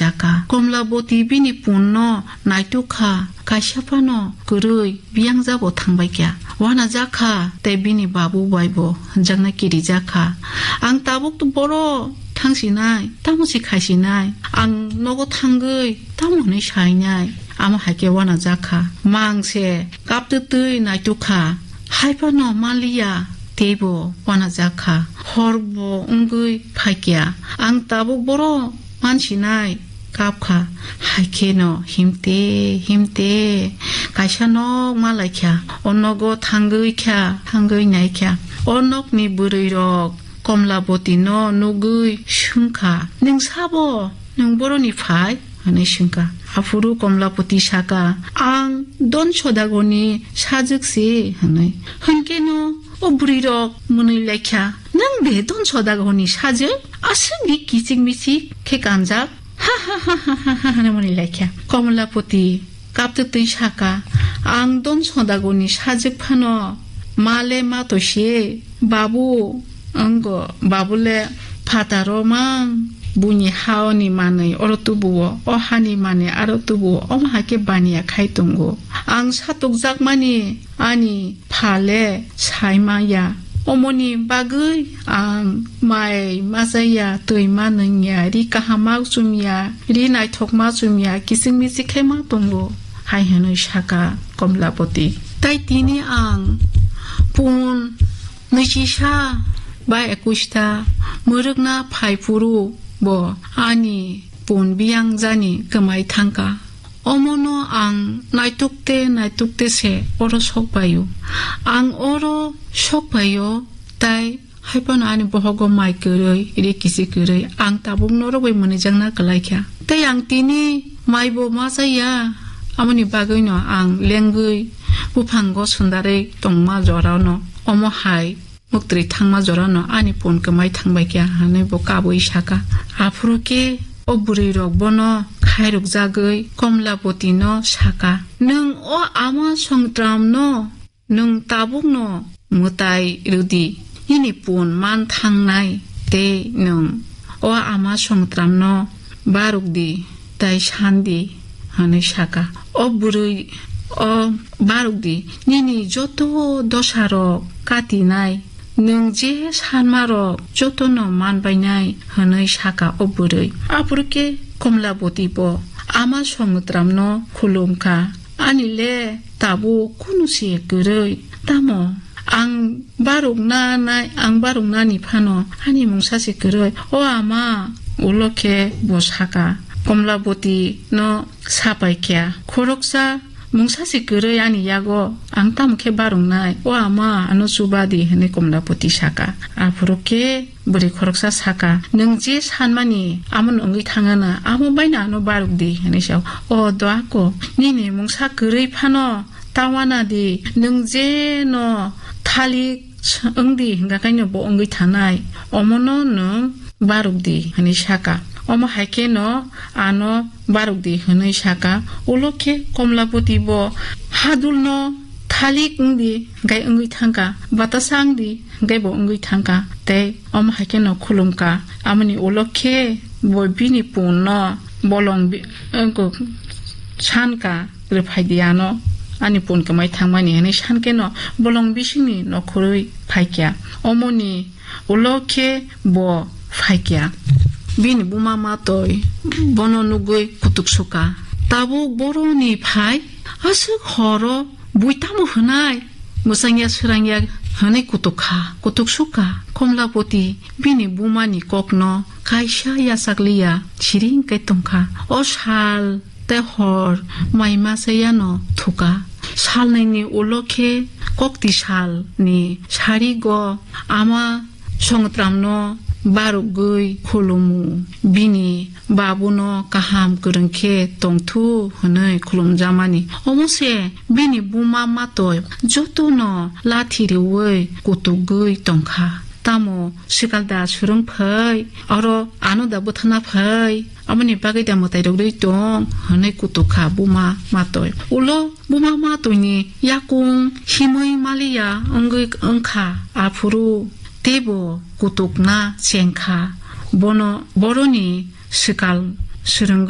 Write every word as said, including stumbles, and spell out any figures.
jakha. Komlaboti bini punno naituk kha, kaisa phano kwrwi biyang jabo thangbai kha. Wana jakha tei bini babu bai bo hwnjakna kiri jakha. Ang tabuk to boro thangsinai, tamo se khaisinai, ang nogo thangwi tamo hwnwi sainai, amo hai khe wana jakha. Mang se kaptwi twi naituk kha, hai phano manliya, teibo wana jakha. Hor bo wngwi phaikya, ang tabuk boro mansinai kapkha, hai kheno himte himte kaisa nok malaikha, o nogo thangwi kha, thangwi naikha. O nokni bwrwirok Komlabotino nugwi swngkha, "Nwng sabo? Nwng boroni phai?" hwnwi swngkha. Aphuru Komlaboti sakha, "Ang Don Sodagorni sajwk se," hwnwi. Hwnkhe no o bwrwirok mwnwi laikha, "Nwng de Don Sodagorni sajwk? Aswk di kichik michik khe kanjak?" Ha ha ha ha ha ha hwnwi mwnwi laikha. Komlaboti kaptwi twi sakha, "Ang Don Sodagorni sajwk phano ma le ma to se, babu." Wngo, babu le phataro mang, buini haoni manwi oro tubuo, o hani manwi aro tubuo, omo hai khe baniya khai tongo. Ang satokjakmani ani pha le sai maya. Omoni bagwi ang mai ma chaya, twi ma nungya, ri kaham ma chumya, ri naithok ma chumya, kiching michik khe ma tongo, hai hwnwi sakha Komlaboti. Tai tini ang pun nwichisa ba ekusta mwrwkna phai phuru bo ani pun biyang jani kwmai thangkha. Omono ang naitukte naitukte se oro sok paio. Ang oro sok paio, tai hai phano ani bohogo mai kwrwi, ri kichik kwrwi, ang tabuk norok bai mwnwijakna kwlaikha. Tai ang tini mai bo ma chaya, amoni bagwino ang lengwi buphango sundarwi tongma jorano omo hai muktwi thangma jorano ani pun kwmai thangbai kha, hwnwi bo kabui sakha. Aphuru khe o bwrwirok bono khairokjagwi Komlabotino sakha, "Nwng o ama Songtramno nwng tabukno mwtai rwdi, nini pun man thangnai, tei nwng o ama Songtramno barukdi, tai sandi," hwnwi sakha. O bwrwi, o barukdi, nini joto dosarok katinai, nwng je sanmarok jotono manbainai, hwnwi sakha o bwrwi. Aphuru khe Komlaboti bo ama Songtramno khulumkha, "Ani le tabuk kunu se kwrwi, tamo ang barukna nai, ang baruknani phano ani mungsa se kwrwi." O ama, ulo khe bo sakha, Komlaboti no sapai kha, "Khoroksa mungsa se kwrwi ani yago, ang tamo khe baruknai? O ama, ano chuba di," hwnwi Komlaboti sakha. Aphuru khe bwrwi khoroksa sakha, "Nwng je sanmani, amono wngwi thangana, amo baino ano baruk di," hwnwi sa. "O doako, nini mungsa kwrwi phano ta wana di, nwng je no thalik wng di, hwnka khe no bo wngwi thanai, omono nwng baruk di," hwnwi sakha. Omo hai khe no ano baruk di hwnwi sakha. Ulo khe Komlaboti bo hadulno thalik wng di, hwnkhe wngwi thangkha, batasa wng di, hwnkhe bo wngwi thangkha, tei omo hai kheno khulumkha. Amoni ulo khe bo bini punno bolong bi-, wngkuk sankha, "Rwphai di ano, ani pun kwmai thangmani," hwnwi sankheno bolong bisingni nokhorwi phaikha. Omoni ulo khe bo phaikha. Bini buma matwi bono nugwi kutuk sukha, "Tabuk boroni phai, aswk horo bui tamo hwnai? Mwchangya swrangya hwnwi kutuk kha, kutuk sukha." Komlapoti bini bumani kokno kaisa yachakliya siring khe tongkha. O sal tei hor mai masa yano thukha. Salnwini ulo khe kokti salni sarigo ama Songtramno barugwi khulumu, bini babuno kaham kwrwng khe tongthu hwnwi khulumjamani. Omo se bini buma matwi jotono lathi rwui kutugwi tongkha. Tamo swkal da swrwng phai, oro ano da bwthana phai, aboni bagwi da mwtai rwgwi tong hwnwi kutuk kha buma matwi. Ulo buma matwini yakung himwi maliya wngwi wngkha, aphuru teibo kutukna chengkha. Bono boroni swkal swrwngwi